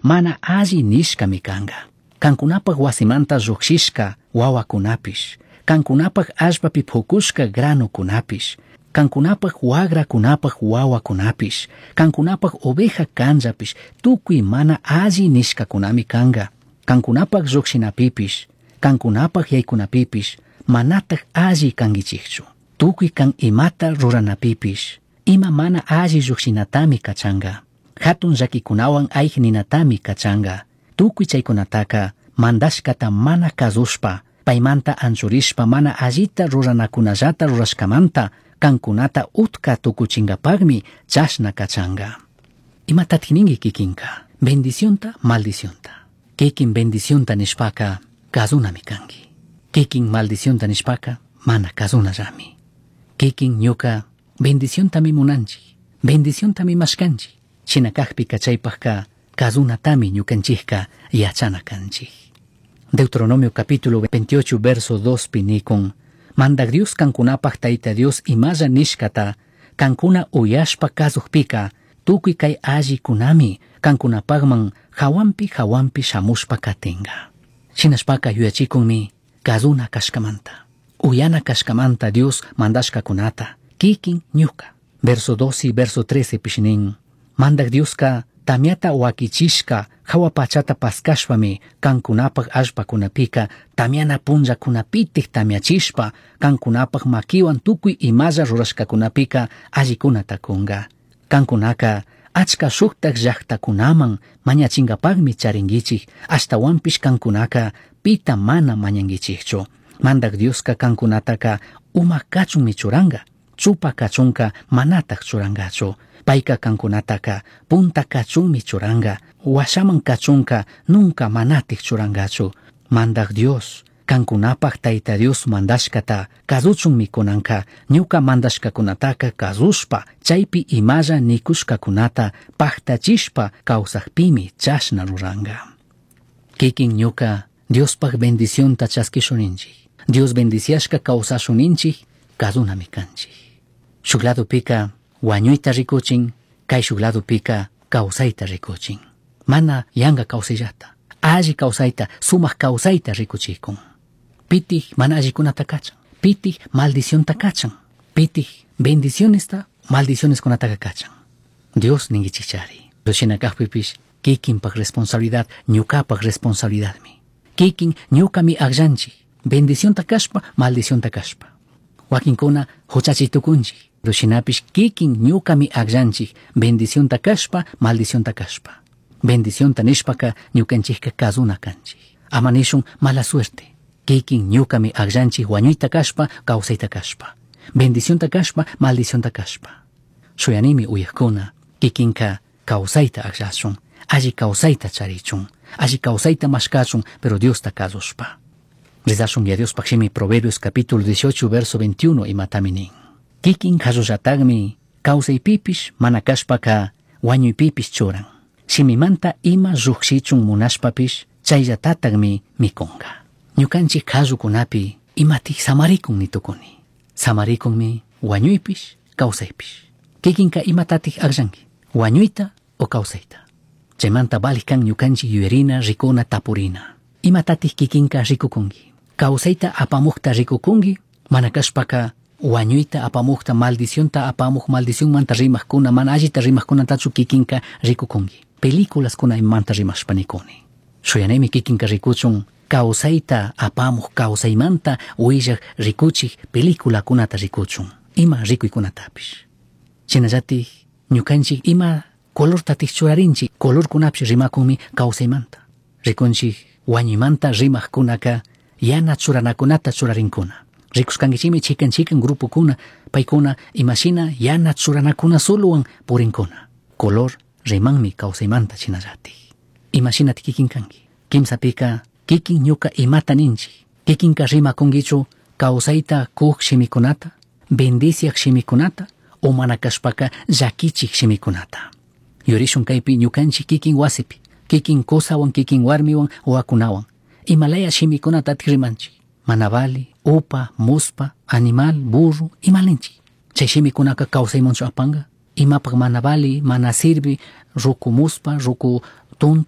mana alli nishcami canga. Cancunapaj huasimanta llujshishca huahuacunapish, cancunapaj allpapi pucushca granocunapish, cancunapaj huagracunapaj huahuacunapish, cancunapaj oveja canllapish, tucui mana alli nishcacunami canga. Cancunapaj llujshinapipish, cancunapaj yaicunapipish, manataj alli canguichijchu. Tucui can imata ruranapipish, ima mana alli llujshinatami cachanga. Jatun llaquicunahuan aij ninatami cachanga. Tucui chaicunataca mandashcata mana cazushpa, paimanta anchurishpa mana allita ruranacunallata rurashcamanta cancunata utca tucuchingapagmi chashna cachanga. Imatatik ninki kikinka? Bendicionta, maldicionta. Kikin bendicionta nishpaka kazunami kanki. Kikin maldicionta nishpaka mana kazunallami. Kikin ñuka bendiciontami munanchik, bendiciontami mashkanchik. Shina kajpika chaypajka kazunatami ñukanchikka yachana kanchik. Deuteronomio capítulo 28 verso 2 pi nikun, Mandak Dios kankunapaj Tayta Dios imalla nishkata, kankuna uyashpa kazujpika, tukuy kay allikunami kankunapajman hawanpi hawanpi shamushpa katinga. Shinashpaka yuyachikunmi kazuna kashkamanta, uyana kashkamanta Dios mandashkakunata, kikin ñuka. Verso 12 verso 13 pish nin, Mandak Dioska tamiata wakichishka jahua pachata paskashpami kankunapaj allpakunapika tamiana punllakunapitik tamiachishpa kankunapaj makiwan tukuy imalla rurashkakunapika allikunata kunga. Kankunaka achka shuktak llaktakunaman mañachinkapakmi charinkichik, ashtawanpish kankunaka pita mana mañankichikchu. Mandak Dioska kankunataka uma kachunmi churanka, chupa kachunka manatak churankachu. Payka kankunataka punta kachunmi churanka, washaman kachunka nunca manatik churankachu. Mandak Dios, kankunapaj Tayta Dios mandashkata kazuchunmi kunanka, ñuka mandashkakunataka kazushpa, chaypi imalla nikushkakunata paktachishpa kawsakpimi chashna ruranka. Kikin ñuka Diospaj bendicionta chaskishuninchik. Dios bendiciashka kawsashuninchik, kazunami kanchik. Shuk ladopika wañuyta rikuchin, kay shuk ladopika kawsayta rikuchin. Mana yanka kawsayllata, alli kawsayta, sumak kawsayta rikuchikun. Pitik mana allikunata kachan, pitik maldicionta kachan, pitik bendicionesta maldicioneskunataka kachan. Dios ninkichikchari. Shina kajpipish kikinpak responsabilidad, ñukapak responsabilidadmi. Kikin ñukami akllanchik, bendicionta kashpa, maldicionta kashpa. Wakinkuna huchachi tukunchik, pero shinapish kikin ñukami akllanchik, bendicionta kashpa, maldicionta kashpa. Bendicionta nishpaka ñukanchikka kazuna kanchik. Ama nishun mala suerte. Kikin ñukami akllanchik wañuyta kashpa, kawsayta kashpa. Bendicionta kashpa, maldicionta kashpa. Shuyanimi uyakuna, kikinka kawsayta akllashun, alli kawsayta charichun, alli kawsayta mashkachun, pero Diosta kazushpa. Rezashun ya Diospaj shimi Proverbios capítulo 18 verso 21 imatami nin. Kikin kallullatakmi kawsaypipish mana kashpaka wañuypipish churan. Shimimanta ima llukshichun munashpapish chayllatatakmi mikunka. Ñukanchik kallukunapi imatik samarikun nitukuni. Samarikunmi wañuypish kawsaypish. Kikinka imatatik akllanki, wañuyta o kawsayta. Chaymanta valik kan ñukanchik yuyarina, rikuna, tapurina. Imatatik kikinka rikukunki. Kawsayta apamukta rikukunki, mana kashpaka wañuyta apamukta, maldicionta apamuk, maldicionmanta rimajkuna, mana allita rimajkunatachu kikinka rikukunki. Películaskuna imamanta rimashpa nikuni. Shuyanimi kikinka rikuchun kawsayta apamuk, kawsaymanta willak rikuchik peliculakunata rikuchun, ima rikuykunatapish. Shinallatik ñukanchik ima colortatik churarinchik, colorkunapish rimakunmi kawsaymanta. Rikunchik wañuymanta rimajkunaka yana churanakunata churarinkuna. Rikushkankichikmi chikan chikan grupokuna, paykuna imashina yana churanakuna solowan purinkuna. Color rimanmi kawsaymanta shinallatik. Imashinatik kikin kanki. Kimsapika kikin ñuka imata ninchik. Kikinka rimakunkichu kawsayta kuk shimikunata, bendiciak shimikunata, o mana kashpaka llakichik shimikunata. Yurishun kaypi ñukanchik kikin wasipi, kikin kusawan, kikin warmiwan, wawakunawan. Imalaya shimikunatatik rimanchik. Mana vali, upa, muspa, animal, burro, imalinchik. Chay shimikunaka kawsaymanchu apanka. Imapak mana vali, mana sirvi, ruku muspa, ruku tonto.